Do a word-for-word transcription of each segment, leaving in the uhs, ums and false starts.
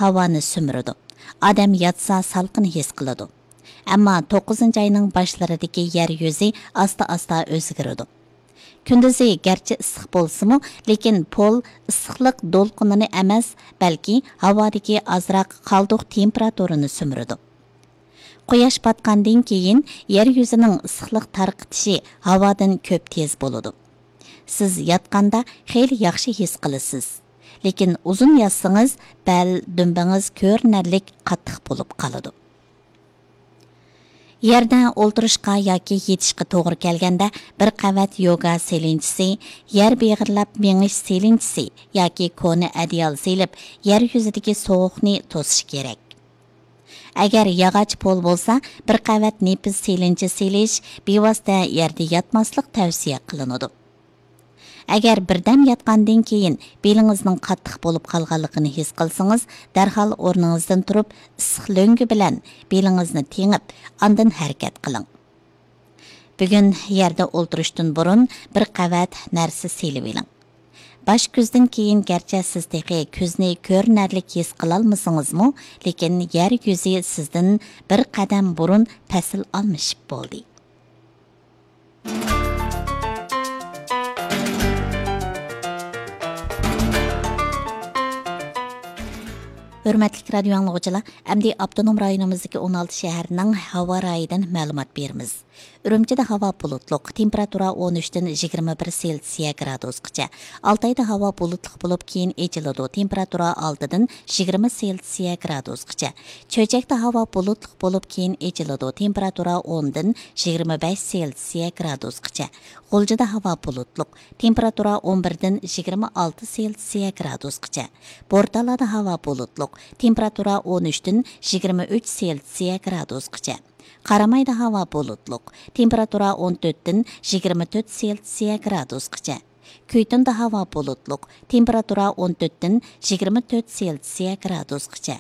ھاۋانى سۈمۈرىدۇ. ئادەم ياتسا سالقىن ھېس قىلىدۇ. ئەمما توققۇزىنچى ئاينىڭ باشلىرىدىكى يەر يۈزى ئاستا-ئاستا ئۆزگىرىدۇ. كۈندۈزى گەرچە ئىسسىق بولسىمۇ، لېكىن پول ئىسسىقلىق دولقۇنىنى ئەمەس، بەلكى ھاۋادىكى ئازراق قالدۇق تېمپېراتۇرىنى سۈمۈرىدۇ. قۇياش پاتقاندىن كېيىن يەر يۈزىنىڭ ئىسسىقلىق تارقىتىشى ھاۋادىن كۆپ تېز بولىدۇ. سىز ياتقاندا خېلى ياخشى ھېس قىلىسىز. لېكىن ئۇزۇن ياتسىڭىز، بەل، دۈمبىڭىز كۆرۈنەرلىك قاتتىق بولۇپ قالىدۇ. يەردە ئولتۇرۇشقا ياكى يېتىشقا توغرا كەلگەندە، بىر قەۋەت يوگا سېلىنچىسى، يەر بېغىرلاپ مېڭىش سېلىنچىسى ياكى كونا ئەدىيال سېلىپ، يەر يۈزىدىكى سوغۇقنى توسۇش كېرەك. ئەگەر ياغاچ پول بولسا، بىر قەۋەت نېپىز سېلىنچە سېلىش، بىۋاسىتە يەردە ياتماسلىق تەۋسىيە قىلىنىدۇ. ئەگەر بىردەم ياتقاندىن كېيىن بېلىڭىزنىڭ قاتتىق بولۇپ قالغانلىقىنى ھېس قىلسىڭىز، دەرھال ئورنىڭىزدىن تۇرۇپ، ئىسسىق لۆڭگە بىلەن بېلىڭىزنى تېڭىپ، ئاندىن ھەرىكەت قىلىڭ. بۈگۈن يەردە ئولتۇرۇشتىن بۇرۇن بىر قەۋەت نەرسە سېلىۋېلىڭ. باش كۈزدىن كېيىن گەرچە سىز تېخى كۈزنى كۆرۈنەرلىك ھېس قىلالمىسىڭىزمۇ، لېكىن يەر يۈزى سىزدىن بىر قەدەم بۇرۇن پەسىل ئالمىشىپ بولدى. ھۆرمەتلىك رادىيو ئاڭلىغۇچىلار، ئەمدى ئاپتونوم رايونىمىزدىكى ئون ئالتە شەھەرنىڭ ھاۋا رايىدىن مەلۇمات بېرىمىز. ئۈرۈمچىدە ھاۋا بۇلۇتلۇق، تېمپېراتۇرا ئون ئۈچتىن يىگىرمە بىر سېلسىيە گرادۇسقىچە. ئالتايدا ھاۋا بۇلۇتلۇق بولۇپ، كېيىن ئېچىلىدۇ، تېمپېراتۇرا ئالتىدىن يىگىرمە سېلسىيە گرادۇسقىچە. چۆچەكتە ھاۋا بۇلۇتلۇق بولۇپ، كېيىن ئېچىلىدۇ، تېمپېراتۇرا ئوندىن يىگىرمە بەش سېلسىيە گرادۇسقىچە. غۇلجىدا ھاۋا بۇلۇتلۇق، تېمپېراتۇرا ئون بىردىن يىگىرمە ئالتە سېلسىيە گرادۇسقىچە. بورتالادا ھاۋا بۇلۇتلۇق، تېمپېراتۇرا ئون ئۈچتىن يىگىرمە ئۈچ سېلسىيە گرادۇسقىچە. قارامايدا ھاۋا بۇلۇتلۇق، تېمپېراتۇرا ئون تۆتتىن يىگىرمە تۆت سېلسىيە گرادۇسقىچە. كۈيتۇندا ھاۋا بۇلۇتلۇق، تېمپېراتۇرا ئون تۆتتىن يىگىرمە تۆت سېلسىيە گرادۇسقىچە.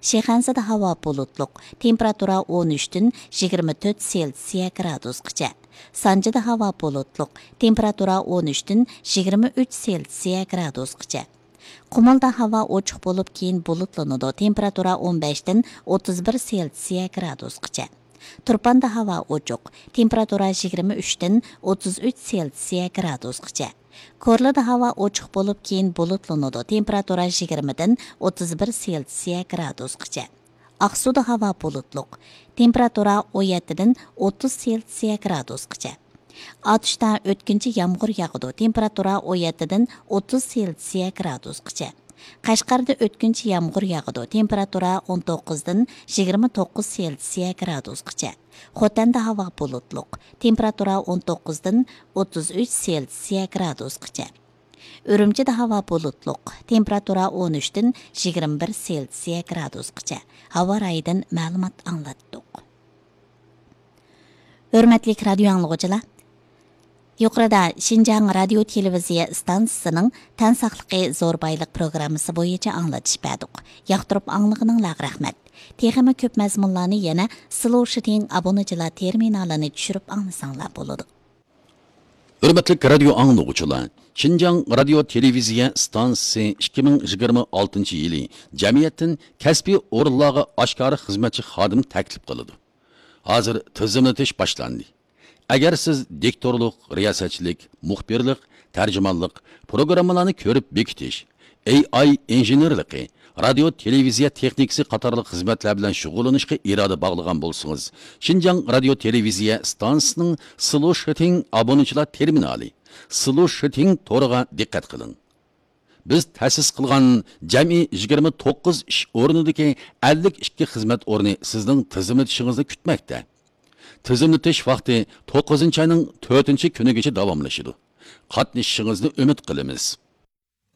شىخەنزىدە ھاۋا بۇلۇتلۇق، تېمپېراتۇرا ئون ئۈچتىن يىگىرمە تۆت سېلسىيە گرادۇسقىچە. سانجىدا ھاۋا بۇلۇتلۇق، تېمپېراتۇرا ئون ئۈچتىن يىگىرمە ئۈچ سېلسىيە گرادۇسقىچە. قۇمۇلدا ھاۋا ئوچۇق بولۇپ، كېيىن بۇلۇتلىنىدۇ، تېمپېراتۇرا ئون بەشتىن ئوتتۇز بىر سېلسىيە گرادۇسقىچە. تۇرپاندا ھاۋا ئوچۇق، تېمپېراتۇرا يىگىرمە ئۈچتىن ئوتتۇز ئۈچ سېلسىيە گرادۇسقىچە. كورلىدا ھاۋا ئوچۇق بولۇپ، كېيىن بۇلۇتلىنىدۇ، تېمپېراتۇرا يىگىرمىدىن ئوتتۇز بىر سېلسىيە گرادۇسقىچە. ئاقسۇدا ھاۋا بۇلۇتلۇق، تېمپېراتۇرا ئون يەتتىدىن ئوتتۇز سېلسىيە گرادۇسقىچە. ئاتۇشتا ئۆتكۈنچى يامغۇر ياغىدۇ، تېمپېراتۇرا ئون يەتتىدىن ئوتتۇز سېلسىيە گرادۇسقىچە. قەشقەردە ئۆتكۈنچى يامغۇر ياغىدۇ، تېمپېراتۇرا ئون توققۇزدىن يىگىرمە توققۇز سېلسىيە گرادۇسقىچە. خوتەندە ھاۋا بۇلۇتلۇق، تېمپېراتۇرا ئون توققۇزدىن ئوتتۇز ئۈچ سېلسىيە گرادۇسقىچە. ئۈرۈمچىدە ھاۋا بۇلۇتلۇق، تېمپېراتۇرا ئون ئۈچتىن يىگىرمە بىر سېلسىيە گرادۇسقىچە. ھاۋا رايىدىن مەلۇمات ئاڭلاتتۇق. ھۆرمەتلىك رادىيو ئاڭلىغۇچىلار، يۇقىرىدا شىنجاڭ رادىيو تېلېۋىزىيە ئىستانسىسىنىڭ تەن ساقلىقى زور بايلىق پروگراممىسى بويىچە ئاڭلىتىش بەردۇق. ياقتۇرۇپ ئاڭلىغىنىڭلارغا رەھمەت. تېخىمۇ كۆپ مەزمۇنلارنى يەنە سلوشىتىڭ ئابۇنىچىلار تېرمىنالىنى چۈشۈرۈپ ئاڭلىساڭلار بولىدۇ. ھۆرمەتلىك رادىيو ئاڭلىغۇچىلار، شىنجاڭ رادىيو تېلېۋىزىيە ئىستانسىسى ئىككى مىڭ يىگىرمە ئالتىنچى يىلى جەمئىيەتتىن كەسپىي ئورۇنلارغا ئاشكارا خىزمەتچى خادىم تەكلىپ قىلىدۇ. ھازىر تىزىملىتىش باشلاندى. ئەگەر سىز دىكتورلۇق، رىياسەتچىلىك، مۇخبىرلىق، تەرجىمانلىق، پروگراممىلارنى كۆرۈپ بېكىتىش، ئېي ئاي ئىنژېنېرلىقى، رادىيو تېلېۋىزىيە تېخنىكىسى قاتارلىق خىزمەتلەر بىلەن شۇغۇللىنىشقا ئىرادە باغلىغان بولسىڭىز، شىنجاڭ رادىيو تېلېۋىزىيە ئىستانسىسىنىڭ سلوشىتىڭ ئابۇنىچىلار تېرمىنالى، سلوشىتىڭ تورىغا دىققەت قىلىڭ. بىز تەسىس قىلغان جەمئىي يىگىرمە توققۇز ئىش ئورنىدىكى ئەللىك ئىككى خىزمەت ئورنى سىزنىڭ تىزىملىتىشىڭىزنى كۈتمەكتە. تىزىملىتىش ۋاقتى توققۇزىنچى ئاينىڭ تۆتىنچى كۈنىگىچە داۋاملىشىدۇ. قاتنىشىشىڭىزنى ئۈمىد قىلىمىز.